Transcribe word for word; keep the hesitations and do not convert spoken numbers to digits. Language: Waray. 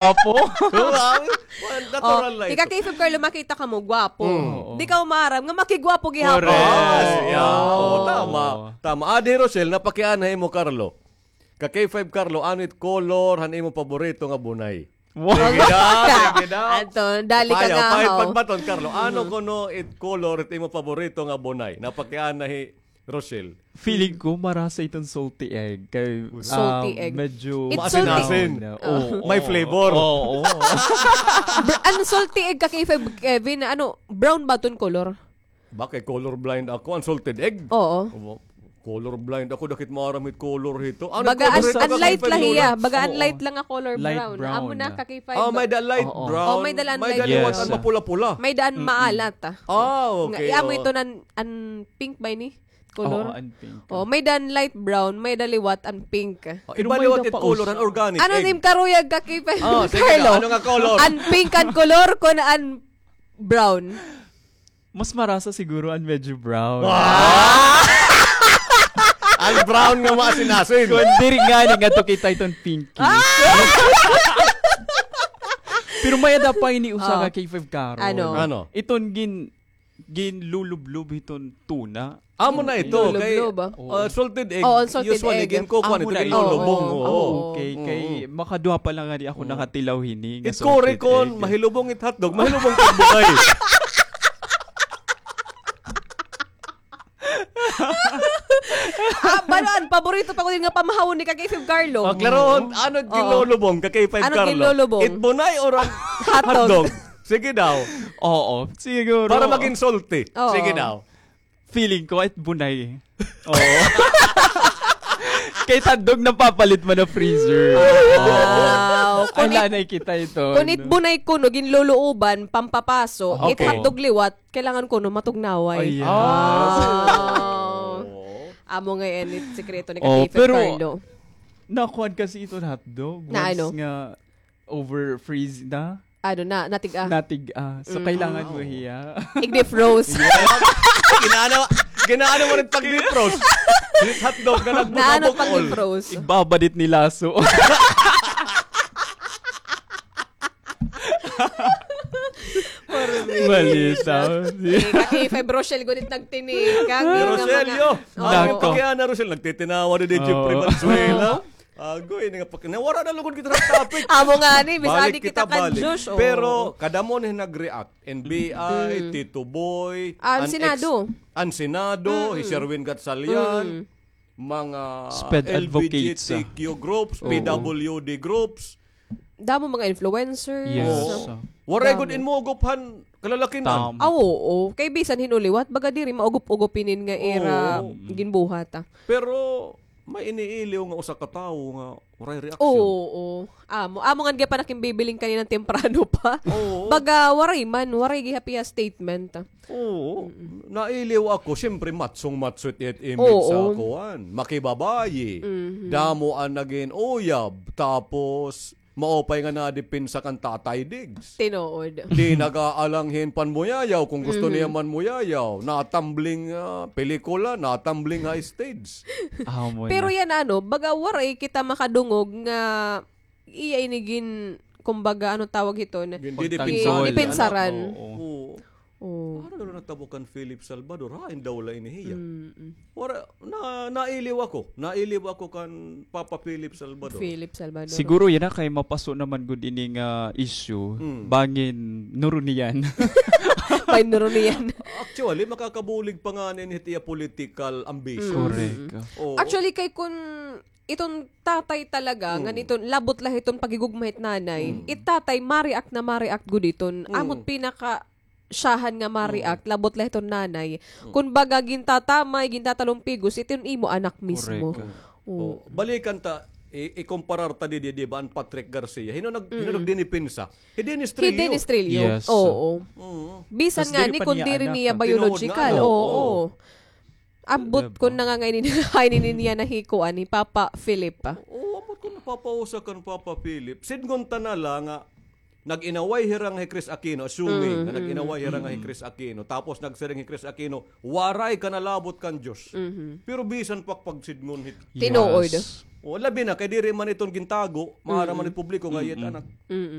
Gwapo. Natural na ito. Ika K five Carlo, makita kamo, gwapo. Di ka maaram nga makigwapo gihapon. Correct. Ah, yeah. Oo, tama. Tama. Adi Rochelle, napakiana imo, Carlo. Ka K five Carlo, ano it color han imo paborito nga bunay? Wow. Sige daw, sige daw. Anton, dali ka nga, pahit pagbaton, Carlo. Ano kuno it color it imo paborito nga bunay? Napakiana hi Rochelle. Feeling ko, marasa iton salty egg. Kay, salty egg. Medyo maasin-asin. Oo. May flavor. Oo. Ano salty egg ka, K five Kevin? Ano, brown ba iton color? Ba kay color blind ako, an salted egg? Oo. Color blind ako, dakit maaram hit color hito. Baga an light la hiya, baga an light la nga color brown. Amo na ka K five. Ah, may da light brown. Oh, may da an light. May da liwat an mapula-pula. May da an maalat. Ah, okay. Amo ito an pink ba ini? Color? Oo, an pink. Oh, may da an light brown, may da liwat an pink. Iba liwat it color an organic. Ano nim karuyag ka K five? Carlo? Ano nga color? An pink an color kun an brown? Mas marasa siguro an medyo brown. An brown nga maasin-asin. Kun diri ngani ngadto kita iton pinky. Pero may-ada pa ini usa ka K five Carlo. Ano? Ano? Iton gin-, ginlulublob hiton tuna. Amo na ito kay salted egg. Oo, salted egg. Usually ginkukuan ito, ginlulubong. Okay, kay makaduha pa la ngani ako nakatilaw hini nga salted egg. It kuri kon mahilubong it hotdog, mahilubong it bunay. Ah, balo-an, paborito pa ko din nga pamahawon ni ka K five Carlo. Klarohon, ano it ginlulubong ka K five Carlo? Ano it ginlulubong? It bunay or an hotdog? Sige daw. Oo, siguro. Para magin salty. Oo. Sige daw. Feeling ko, it bunay. Oo. Kay it hotdog napapalit man ha freezer. Wow. Ay, lanay kita ito. Kun it bunay kuno ginluluuban, pampapaso, it hotdog liwat, kailangan kuno matugnaway. Ayan. Amo ngay-an it sikreto ni ka K five Carlo. Pero nakuan kasi iton hotdog. Na ano? Once nga over freeze na. Ano na, natig-a. Natig-a. So, kailangan mo hiya i-defrost. Ginaano, ginaano mo rin pag-defrost? Hotdog na nagbukol. Naano pag-defrost? Igbabadit ni laso. Balita. Eh, ka K five Rochelle, gunit nagtinikag. Rochelle, yo. Ano pa kaya na, Rochelle? Nagtitinawa na din Jeffrey Valenzuela. Agoy, ini nga paki-, nawara na lugod kita sa topic. Amo nga ni, bis adi kita kan Josh, oh. Pero kadamo ni nag-react. N B I, Tito Boy, an Senado, hi Sherwin Gatchalian, mga L G B T Q groups, P W D groups. Damo mga influencers. Yes. Waray gud in maugop han kalalakin-an. Aw, oo. Kay bisan hin-o liwat, baga diri maugop-ugop inin nga ira ginbuhat, ah. Pero may iniiliw nga usa ka tawo nga waray reaksyon. Oo, oo. Amo, amo ngan gihap an ak ginbibiling kanina temprano pa. Oo. Baga waray man, waray gihap iya statement. Oo. Nailiw ako, siyempre matsong-matso it image sa kuan. Makibabayi. Damo an nagin uyab, tapos maupay nga nadipinsa kan Tatay Diggs. Tinuod. Di nag-aalang hin panmuyayaw kon gusto niya manmuyayaw. Natumbling, ah, pelikula, natumbling ha stage. Pero yana, ano, baga waray kita makadungog nga iya ini gin-, kumbaga, ano tawag hiton? Gin-, gin-, dipinsaran. Oo. Ano daw natabo kan Philip Salvador? Hain daw la ini hiya? Wara, na, nailiw ako. Nailiw ako kan Papa Philip Salvador. Philip Salvador. Siguro yana kay mapaso naman gud ini nga issue. Bangin Nurunian. Bangin Nurunian. Actually, makakabulig pa ngani ini hit iya political ambition. Correct. Oo. Actually, kay kun iton tatay talaga, ngan iton labot la hiton paghigugma hit nanay, it tatay ma-react na ma-react gud iton. Amo it pinaka siyahan nga ma-react, labot la hiton nanay. Kun baga gintatamay, gintatalon pigos, iton imo anak mismo. Correct. Oo. Balikan ta, i-, ikomparar ta didi, di ba, an Patrick Garcia. Hin-o nag-, hin-o nagdinipinsa? Hi Dennis Trillo. Hi Dennis Trillo. Yes. Oo. Bisan ngani kun diri niya biological. Oo. Ambot kun nangangay ini, hain ini niya nahikuan ni Papa Philip. Oo, ambot kun napapausa kan Papa Philip. Sidngon ta na la nga nag-inaway hira nga hi Chris Aquino, assuming nga nag-inaway hira nga hi Chris Aquino, tapos nagsiring hi Chris Aquino, waray ka nalabot kan Diyos. Pero bisan pa pagsidngon hit Tinuod. Yes. O, labi na, kay diri man iton gintago, maaram man it publiko nga iyat anak.